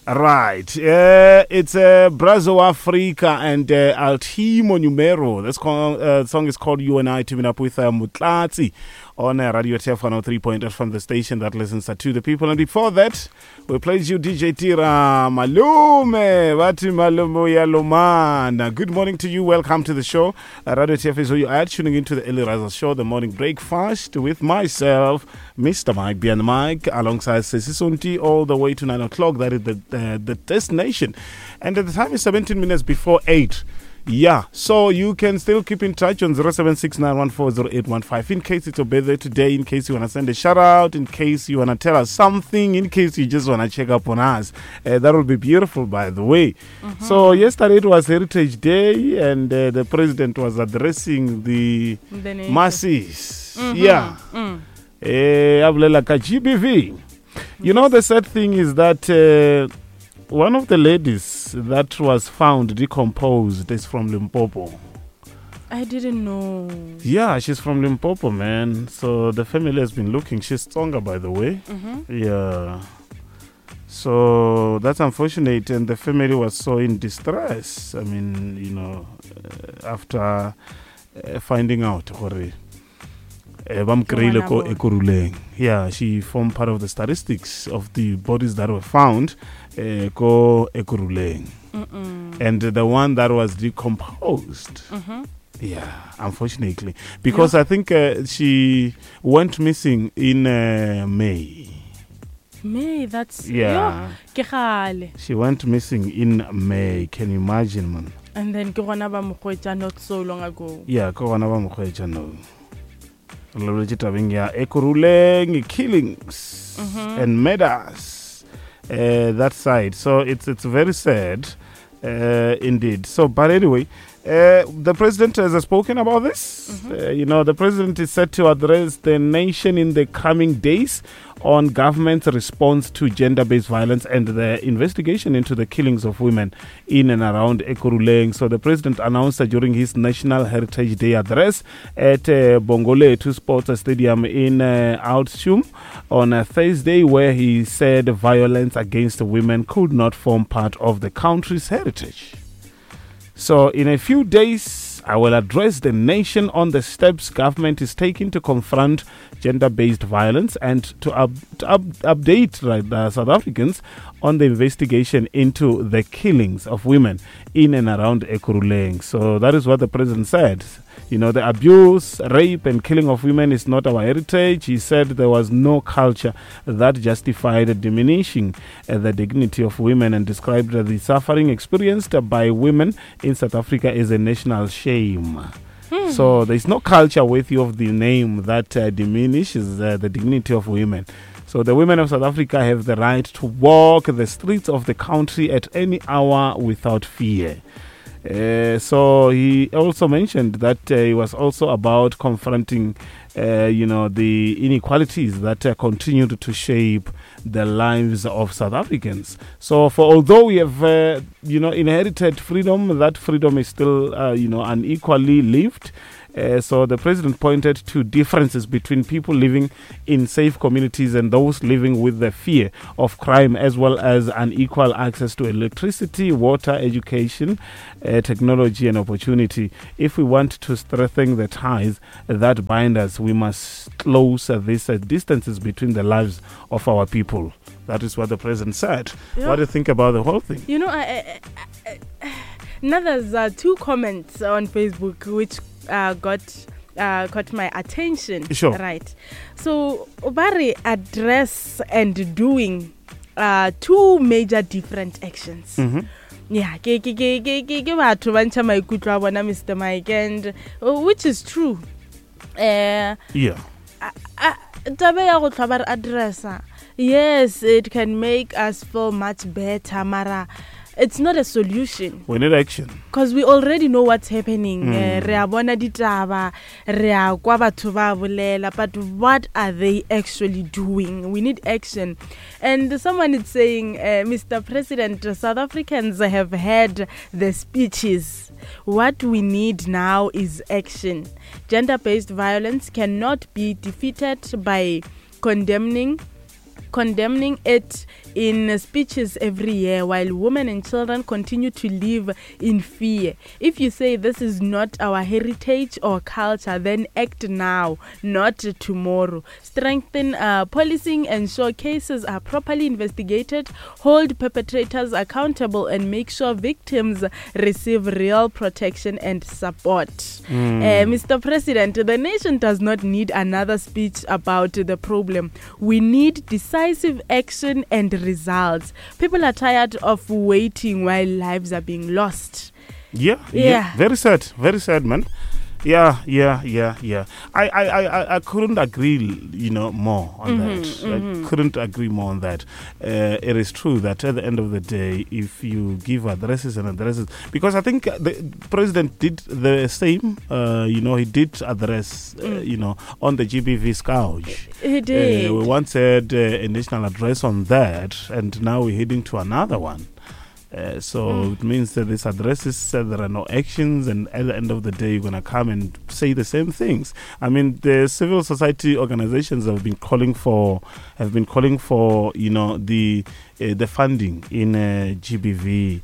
Right. It's Brazo Africa and Altimo Numero. This song is called You and I, teaming up with Mutlatsi on Radio TF 103.8 from the station that listens to the people. And before that, we played you DJ Tira Malume. Vati Malume ya Lomana. Good morning to you. Welcome to the show. Radio TF is where you are tuning into the Early Riser Show, the morning breakfast with myself, Mr. Mike B and Mike, alongside Sesi Sonti, all the way to 9 o'clock. That is the destination. And at the time is 17 minutes before 8. Yeah, so you can still keep in touch on 0769140815 in case it's your birthday today, in case you want to send a shout out, in case you want to tell us something, in case you just want to check up on us. That will be beautiful, by the way. So yesterday it was Heritage Day, and the president was addressing the The nation. masses. Yeah. A bolela ka GBV. You know, the sad thing is that one of the ladies that was found decomposed is from Limpopo. I didn't know. Yeah, she's from Limpopo, man. So the family has been looking. She's Tsonga, by the way. Yeah. So that's unfortunate, and the family was so in distress. After finding out gore, ba mo kry-ile ko Ke ngwana Ekurhuleng. Yeah, she formed part of the statistics of the bodies that were found ko Ekurhuleng. And the one that was decomposed. Yeah, unfortunately. Because I think she went missing in May. May, that's... Yeah. Yo, ke kgale. She went missing in May. Can you imagine, man? And then ke gona ba mo hwetša not so long ago. Yeah, ke gona ba mo hwetša, no. Re lebeletse tabeng ya Ekurhuleng killings and murders, that side. So it's very sad, indeed. But anyway, the president has spoken about this. The president is set to address the nation in the coming days on government's response to gender-based violence and the investigation into the killings of women in and around Ekurhuleng. So the president announced that during his National Heritage Day address at Bongolethu Sports Stadium in Oudtshoorn on a Thursday, where he said violence against women could not form part of the country's heritage. So in a few days, I will address the nation on the steps government is taking to confront gender-based violence and to update the South Africans on the investigation into the killings of women in and around Ekurhuleng. So that is what the president said. The abuse, rape and killing of women is not our heritage. He said there was no culture that justified diminishing the dignity of women and described the suffering experienced by women in South Africa as a national shame. So there is no culture worthy of the name that diminishes the dignity of women. So the women of South Africa have the right to walk the streets of the country at any hour without fear. So he also mentioned that he was also about confronting, the inequalities that continued to shape the lives of South Africans. So although we have inherited freedom, that freedom is still, unequally lived. So the president pointed to differences between people living in safe communities and those living with the fear of crime, as well as unequal access to electricity, water, education, technology and opportunity. If we want to strengthen the ties that bind us, we must close these distances between the lives of our people. That is what the president said. What do you think about the whole thing? Now there's two comments on Facebook which caught my attention. Right. So Obari, address and doing two major different actions. Yeah, ke ke ke ke ke ke batho ba ntsha maikutlo a bona, Mr. Mike, and which is true. Taba ya go tlhwa ba re addressa, yes, it can make us feel much better, mara it's not a solution. We need action. Because we already know what's happening. Re a bona ditaba, re a kwa batho ba bolela, but what are they actually doing? We need action. And someone is saying, Mr. President, South Africans have had the speeches. What we need now is action. Gender-based violence cannot be defeated by condemning condemning it in speeches every year while women and children continue to live in fear. If you say this is not our heritage or culture, then act now, not tomorrow. Strengthen policing, ensure cases are properly investigated, hold perpetrators accountable, and make sure victims receive real protection and support. Mr. President, the nation does not need another speech about the problem. We need decisive action and results. People are tired of waiting while lives are being lost. Yeah. Very sad. Very sad, man. Yeah. I couldn't agree more on that. I couldn't agree more on that. It is true that at the end of the day, if you give addresses and addresses, because I think the president did the same, he did address, on the GBV scourge. He did. We once had a national address on that, and now we're heading to another one. So it means that this address is said, there are no actions, and at the end of the day, you're going to come and say the same things. I mean, the civil society organizations have been calling for, the funding in GBV.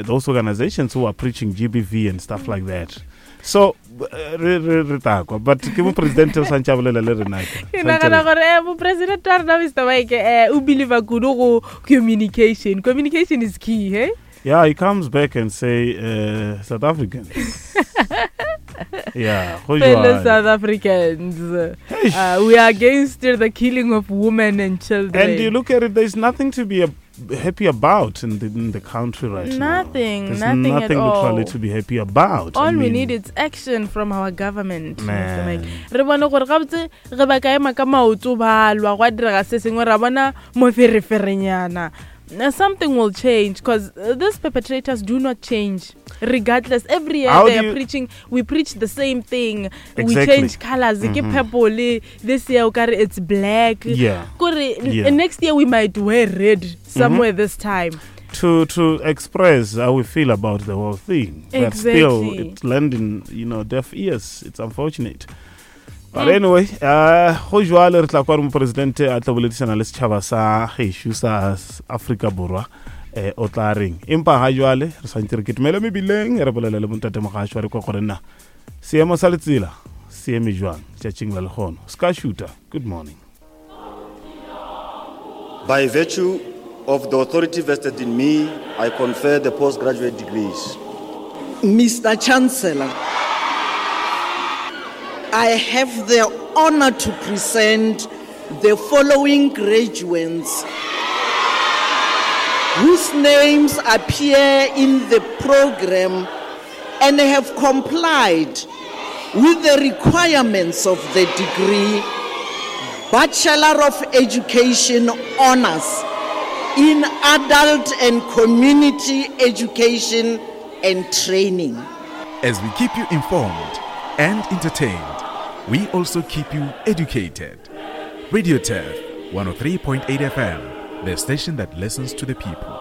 Those organizations who are preaching GBV and stuff like that. So, re takwa, but ke mo president o santse a bolela le rena ke. Ke nagana gore mo president wa rena Mr. Mike, o believe kudu go communication. Communication is key, hey? Yeah, he comes back and say, South Africans. Yeah, go Fellow South Africans, we are against the killing of women and children. And you look at it, there's nothing to be happy about in the country right now. Nothing, There's nothing at nothing literally to be happy about. All we need is action from our government. Man. Re bone gore gabotse ge ba ka ema ka maoto ba lwa gwa direga se sengwe, ra bona mofereferenyana. Now, something will change, because these perpetrators do not change. Regardless, every year they are preaching, we preach the same thing. We change colors. Ke purple, this year it's black. Yeah. Kore, next year we might wear red somewhere this time. To express how we feel about the whole thing. But still, it's landing, deaf ears. It's unfortunate. But anyway, go jwale re tla kwa re mopresidente a tla boledisana le setšhaba sa gešo sa Afrika Borwa, o tla reng. Empa ga jwale re swantse re ketumele mebileng, re bolele le bontate Mogasho re kwa gore na seemo sa letsela se eme jwang tšatšing la lekgono. Ska shooter, good morning. By virtue of the authority vested in me, I confer the postgraduate degrees. Mr. Chancellor, I have the honor to present the following graduates whose names appear in the program and have complied with the requirements of the degree Bachelor of Education Honors in Adult and Community Education and Training. As we keep you informed and entertained, we also keep you educated. Radio Turf 103.8 FM, the station that listens to the people.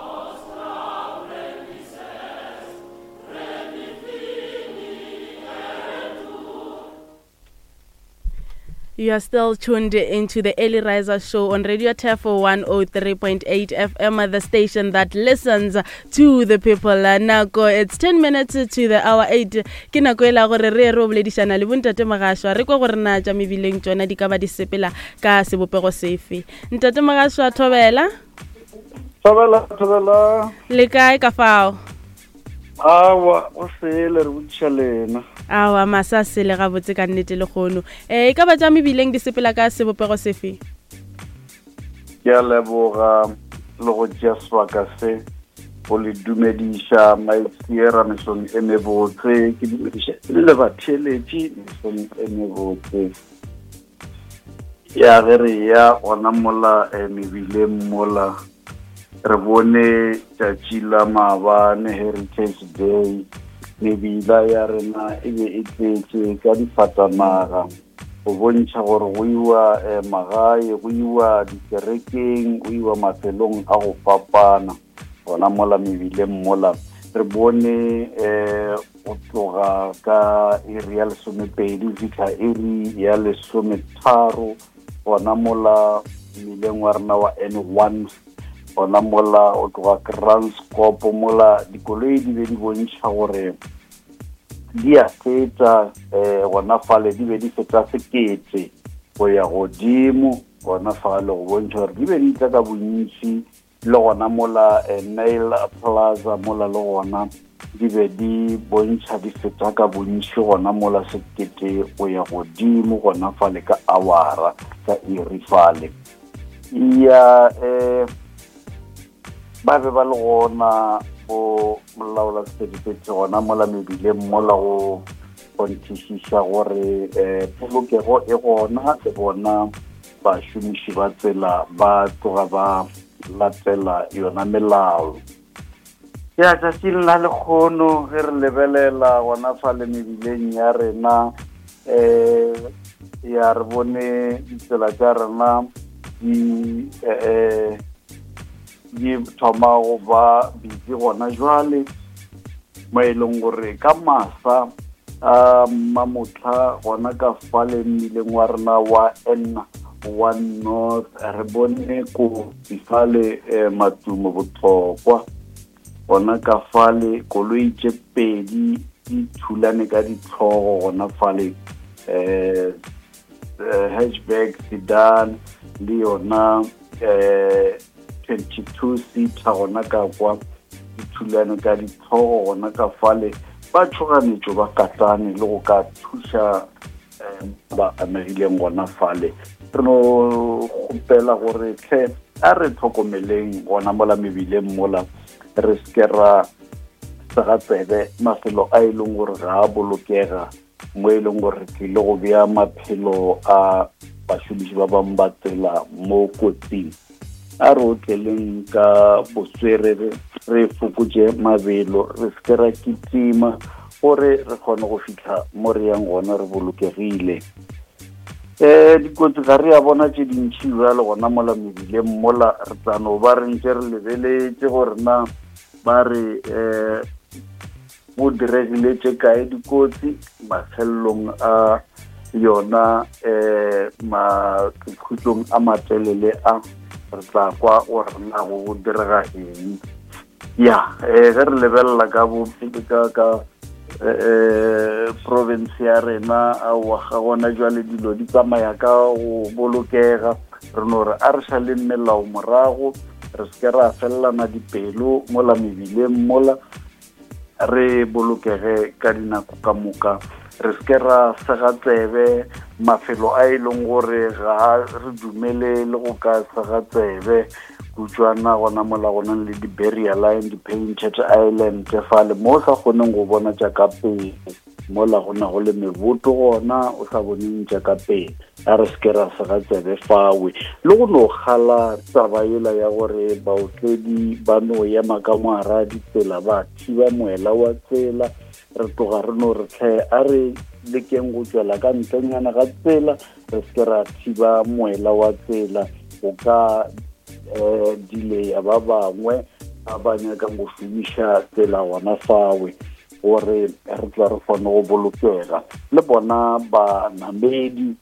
You are still tuned into the Early Riser Show on Radio Turf 103.8 FM, the station that listens to the people. Nako, it's 10 minutes to the hour 8. Ke nako e la gore re re boledišana le bontate Mogashoa, re kwa gore na tša mebileng tšona di ka ba di sepela ka sebopego sefe. Ntate Mogashoa, thobela. Thobela, thobela. Le kae ka fao? Awa, o sele re botšiša lena. Awa, masa sele ga botse ka nnete le kgono. E ka ba tša mebileng di sepela ka sebopego sefe? Ke a leboga le go tšea sebaka se go le dumediša maipshiera mesong e mebotse, ke dumediša le batheeletši mesong e mebotse. Ya ge re ya gona mola mebileng mola, re bone tšatši la maabane, Heritage Day, mebila ya rena e be e tletše ka difatanaga go bontšha gore go iwa magae, go iwa dikerekeng, go iwa mafelong a go fapana. Gona mola mebileng mola re bone go tloga ka iri ya 12 go fihla iri ya 13, gona mola mmileng wa rena wa N1, gona mola o tloga Kranskop mola dikoloi di be di bontšha gore di a feta um gona fale di be di feta sekete go ya godimo gona fale go bontšha gore di be di tla ka bontši le gona mola eh, Nail Plaza mola le gona di be di bontšha di feta ka bontši gona mola sekete go ya godimo gona fale ka awara ka iri fale ya um ba be ba le gona bo molaola sephethephethe gona mola mebileng mola go kgonthišiša gore um polokego e gona le bona bašomiši ba tsela ba tloga ba latela yona melao ya tšatšing la lekgono ge re lebelela gona fa le mebileng ya rena um ya re bone ditsela tša rena di um di thoma go ba busy gona jwale mo e leng gore ka masa a mamotlha gona ka fale mmileng wa rena wa N one north re bone kotsi fale eh, matumo botlhokwa gona ka fale koloi tše pedi di thulane ka ditlhogo gona fale eh, eh hatchback sedan le yona eh 22 seater gona ka kwa di thulane ka ditlhogo gona ka fale ba tšhoganetšo ba katane le go ka thuša ba amegileng gona fale re no kgopela gore tlhe a re tlhokomeleng gona mola mebileng mola re seke ra sega tsebe mafelo a e leng gore ga a bolokega mo e leng gore re tlile go bea maphelo a bašomiši ba bangwe ba tsela mo kotsing a re otleleng ka botswerere re fokotše mabelo re seke ra kitima gore re kgone go fitlha mo re yang gona re bolokegile um dikotsi ga re ya bona tše dintšhi bjale gona mola mebileng mola re tla no ba re ntse re lebeletše gore na ba re um go diregile tše kae dikotsi mafelelong a yona um makhutlong a matelele a re tla kwa gore na go direga eng ya um ge re lebelela ka ka ka um province ya rena aowa ga gona jwale dilo di tsamaya ka go bolokega re no re a re šaleng melao morago re seke ra felelana dipelo mola mebileng mola re bolokege ka dinako ka moka re seke ra sega tsebe mafelo a e leng gore ga re dumele le go ka sega tsebe kutswana gona mola go nang le di-barrier line di-painted island fale mo o sa kgoneng go bona tša ka pele mola go na go le meboto gona o sa boneng tša ka pele a re seke ra sega tsebe fawe le go no kgala taba yela ya gore baotledi ba no ema ka moara ditsela ba thiba moela wa tsela re tloga re no re tlhe a re lekeng go tswela ka ntlenyana ga tsela re seke ra thiba moela wa tsela go ka um dileya ba bangwe ba ba nyakang go šomiša tsela gona fawe gore re tla re kgone go bolokega le bona banamedi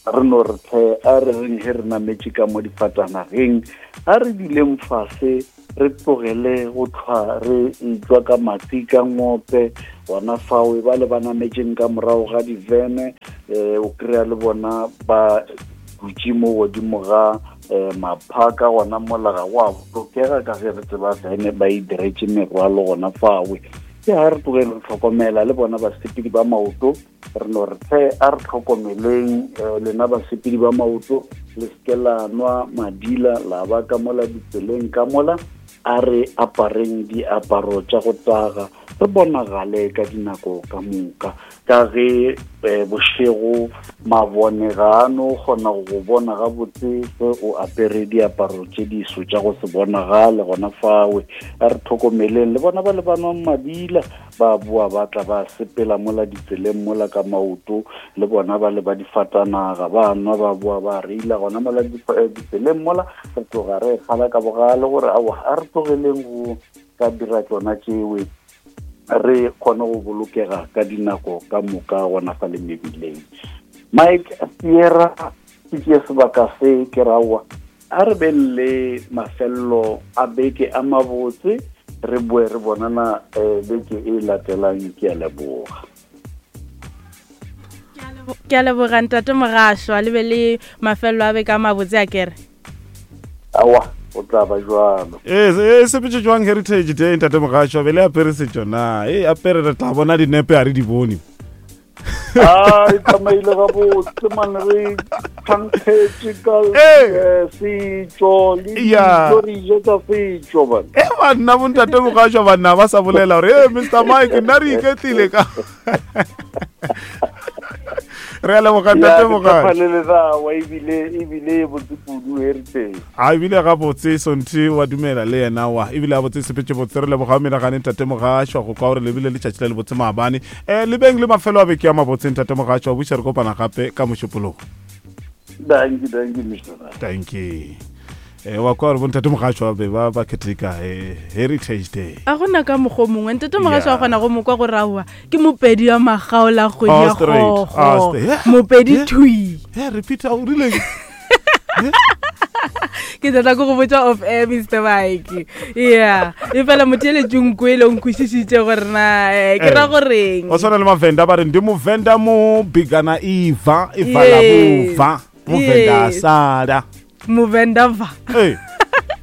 re no re tlhe a re reng ge re nametše ka mo difatanageng a re dileng fase re tlogele go tlhwa re etswa ka matsi ka ngope gona fao e ba le ba nametšeng ka morago ga divene um o kry-a le bona ba dutše mo godimo ga um maphaka gona mola ga go a bolokega ka ge re tseba vene ba e diretše merwalo gona fawe ke ga re tlogele re tlhokomela le bona basepedi ba maoto re no re tlhe a re tlhokomeleng eh, lena basepedi ba maoto le seke la nwa madila la ba ka mola ditseleng ka mola a re apareng diaparo tša go taga re bonagale ka dinako ka moka ka ge eh, bošego mabone ga a no kgona go go bona gabotse ge o apere diaparo tše diso tša go se bonagale gona fawe a re tlhokomeleng le bona ba le ba nwang madila ba boa ba tla ba sepela mola ditseleng mola ka maoto le bona ba le ba difatanaga ba nwa ba boa ba reila gona mola eh, ditseleng mola re tloga re kgala ka bogale gore aowa a re tlogeleng go ka dira tsona tšewe re kgone go bolokega ka dinako ka moka gona fa le mebileng mike sierra Ke tšee sebaka se ke raowa a re beng le mafelelo a beke a mabotse re boe re bonana um beke e latelang ke a leboga ke a leboga ntate mogašwa le be le mafelelo a beke a mabotse a kere awa o tla ba jwalo ee e sepetse jwang heritage day ntate mogašwa be le apere setšo na e apere re tla bona dinepe a re di bone a e tsamaile gabotse mane re thankgetše ka eh, setšo le dijo re ije tsa setšo bana e banna bontate mogašwa banna ba sa bolela gore e mr mike nna re iketlile ka re a leboga ntate mogašwa ebile ebile e botse kudu heritage a ebile gabotse sonthe wa dumela le yena wa ebile gabotse sepetse botse re leboga menagane ntate mogašwa go kwa gore lebile letšatši le lebotse maabane um le beng le mafelo a beke ya mabotseng tate mogašwa wa buša re kopana gape ka mošupologo danki danki mr danki e wa kwa gore bontate mogašwa be ba ba keteka eh, heritage day a gona ka mokgwa mongwe ntate mogašwa wa kgona go mokwa gore aowa ke mopedi ya magaola kgwedi ya gogo mopedi thui repeat o rileng ke tlatla ko go botsa off air mr mike yeah e fela motheeletši nko e le nkwešišitše gore na eh, ke ra eh, goreng o tshwana le mavenda ba re ndi muvenda mu bigana iva ivala buva muvenda asala muvenda va eh,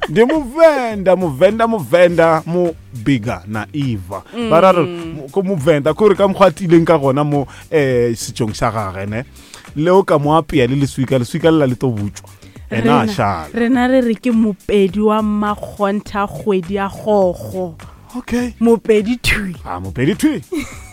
ndi muvenda muvenda muvenda mu biga na iva ba ra re mm. ko muvenda kore ka mokgwa a tileng ka gona mo um setsong sa gage ne leo ka mo apea le leswika leswika le la le to butšwa ena a šala rena re re ke mopedi wa mmakgontha kgwedi ya gogo okay mopedi thwi a mopedi thwi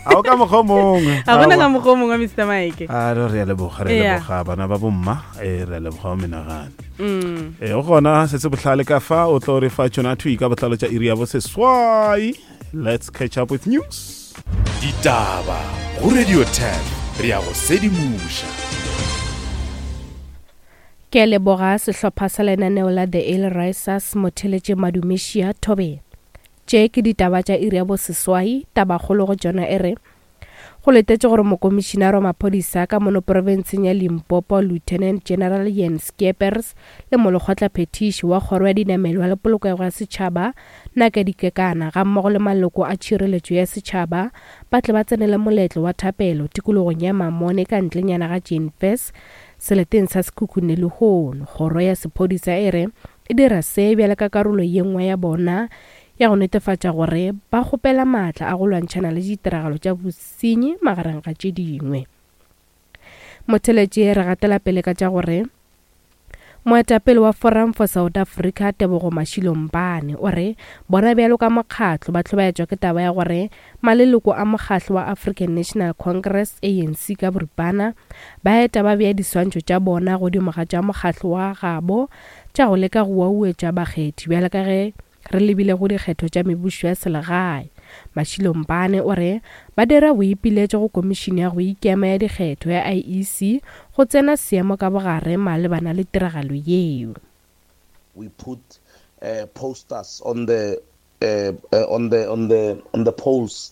a o ka mokgwa mongwe a gona ka mokgwa mongwe mr mike a re re a leboga re leboga bana ba bomma e re a leboga o menagane mm. e o gona se se bohlale ka fa o tlo re fa tšona thwi ka botlalo tša iri ya bo seswai let's catch up with news Ditaba go Radio 10 re ya go sedimoša. Ke a leboga sehlopha sa lenaneo la The Early Risers motheletše Madumešia Thobela. Tše ke ditaba tša iri ya boseswai, tabakgolo go tšona e re, Go letetše gore mokomišinara wa maphodisa ka mono profenseng ya Limpopo Lieutenant General Jan Skeepers le molekgotlaphethiši wa kgoro ya dinamelwa le polokego ya setšhaba Nakedi Kekana gammogo le maloko a tšhireletšo ya setšhaba ba tle ba tsenele moletlo wa thapelo tikologong ya Mamone ka ntlenyana ga Jane Fess seleteng sa Sekhukhune lehono. Kgoro ya sephodisa e re e dira se bjale ka karolo ye nngwe ya bona ya go netefatša gore ba kgopela maatla a go lwantšhana le ditiragalo tša bosenyi magareng ga tše dingwe. Motheletši re gatela pele ka tša gore Moetapele wa Forum for South Africa Tebogo Mashilo Mpane o re bona bjalo ka mokgatlo ba hlobaetšwa ke taba ya gore maleloko a mokgatlo wa African National Congress, ANC ka boripana, ba eta ba bea diswantšho tša bona godimo ga tša mokgatlo wa gabo tša go leka go wauetša bakgethi bjalo ka ge Re lebile go dikgetho tša mebušo ya selegae. Mashilo Mpane o re ba dira boipiletšo go Komišene ya go Ikema ya Dikgetho ya IEC go tsena seemo ka bogare malebana le tiragalo yeo. We put uh, posters on the uh, uh, on the on the on the poles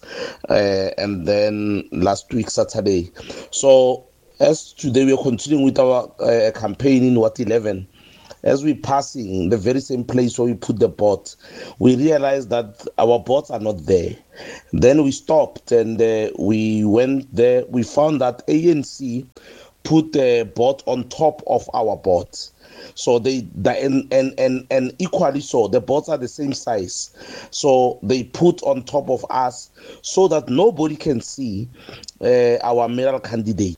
uh, and then last week Saturday. So as today we are continuing with our uh, campaign in Wat 11, as we're passing the very same place where we put the boat, we realized that our boats are not there. Then we stopped and uh, we went there. We found that ANC put the boat on top of our boat. So they, the, and, and, and, and equally so, the boats are the same size. So they put on top of us so that nobody can see uh, our mayoral candidate.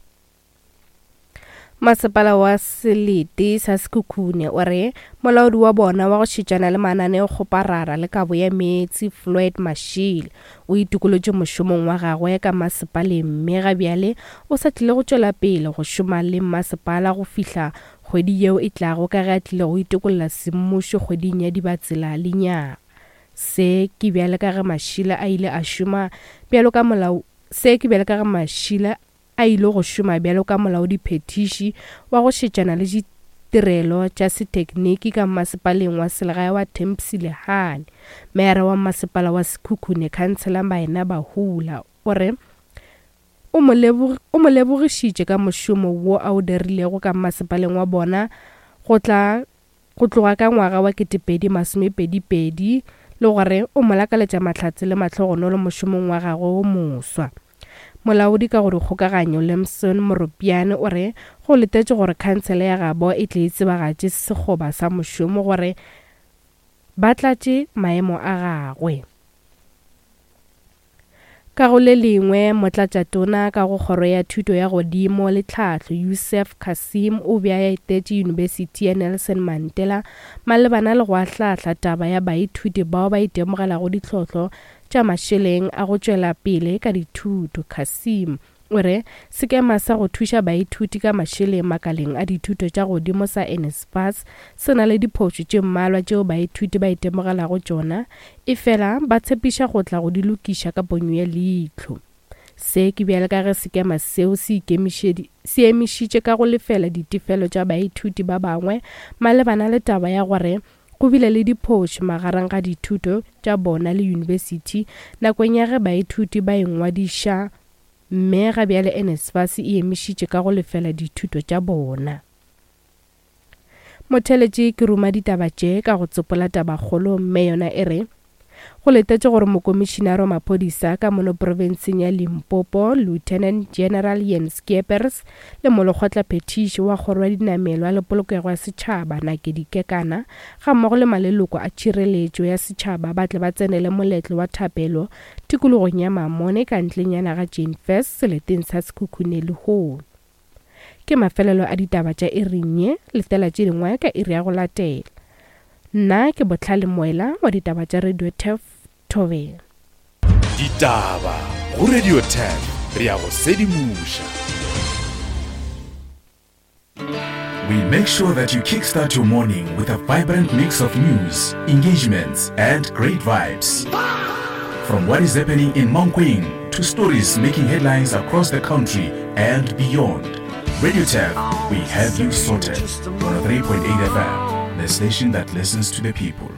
Masepala wa selete sa Sekhukhune o re molaodi wa bona wa go šetšana le mananeokgoparara le kabo ya meetse Floyd Mashile o itokolotše mošomong wa gagwe ka masepaleng mme ga bjale o sa tlile go tšwela pele go šoma le mmasepala go fihla kgwedi yeo e tlago ka ge a tlile go itokolla semmušo kgweding ya Dibatsela lenyaga. Se ke bjale ka ge Mashila a ile a šoma bjalo ka molao Se ke bjale ka ge Mashila a ile go šoma bjalo ka molaodiphethiši wa go šetšana le ditirelo tša sethekniki ka mmasepaleng wa selegae wa Thembsile Hani. Meyara wa mmasepala wa Sekhukhune, Khansela Maina Bahula, o re. O mo o mo lebogišitše ka mošomo wo a o dirilego ka mmasepaleng wa bona go tla go tloga ka ngwaga wa 2022 le gore o mo lakaletša mahlatse le mahlogonolo mošomong wa gagwe wo moswa. Molaodi ka go dikgokaganyo Lemson Moropiane o re go letetšwe gore khansele ya gabo e tle e tsebagatše sekgoba sa mošomo gore ba tlatše maemo a gagwe. Ka go le lengwe, Motlatšatona ka go Kgoro ya Thuto ya Godimo le Tlhahlo, Yusuf Cassim o be a etetše Yunibesithi ya Nelson Mandela malebana le go ahlaahla taba ya baithuti bao ba itemogelago ditlhohlo tša mašeleng a go tšwela pele ka dithuto. Cassim O re sekema sa go thuša baithuti ka mašeleng makaleng a dithuto tša godimo sa NSFAS se na le diphošo tše mmalwa tšeo baithuti ba itemogelago tšona, efela ba tshepiša go tla go di lokiša ka ponyo ya leihlo. Se ke bjale ka ge sekema seo se se emišitše ka go lefela ditefelo tša baithuti ba bangwe malebana le taba ya gore go bile le diphošo magareng ga dithuto tša bona le yunibesithi nakong ya ge baithuti ba ingwadiša Mme ga bjale NSFAS e emišitše ka go lefela dithuto tša bona. Motheeletši ke ruma ditaba tše ka go tsopola tabakgolo mme yona e re, Go letetšwe gore Mokomišinare wa Maphodisa ka mono profenseng ya Limpopo, Lieutenant General Jan Scheepers le Molekgotlaphethiši wa Kgoro ya Dinamelwa le Polokego ya Setšhaba, Nakedi Kekana, gammogo le maleloko a tšhireletšo ya setšhaba ba tle ba tsenele moletlo wa thapelo Tikologong ya Mamone ka ntlenyana ga Jane Furse seleteng sa Sekhukhune lehono. Ke mafelelo a ditaba tša iring ye, letela tše dingwe ka iri ya go latela. Nna ke Bohlale Moela wa ditaba tša Radio Turf, Thobela. Ditaba go Radio Turf, re a go sedimoša. We make sure that you kickstart your morning with a vibrant mix of news, engagements, and great vibes. From what is happening in Mankweng to stories making headlines across the country and beyond. Radio Tab, we have you sorted. 103.8 FM, the station that listens to the people.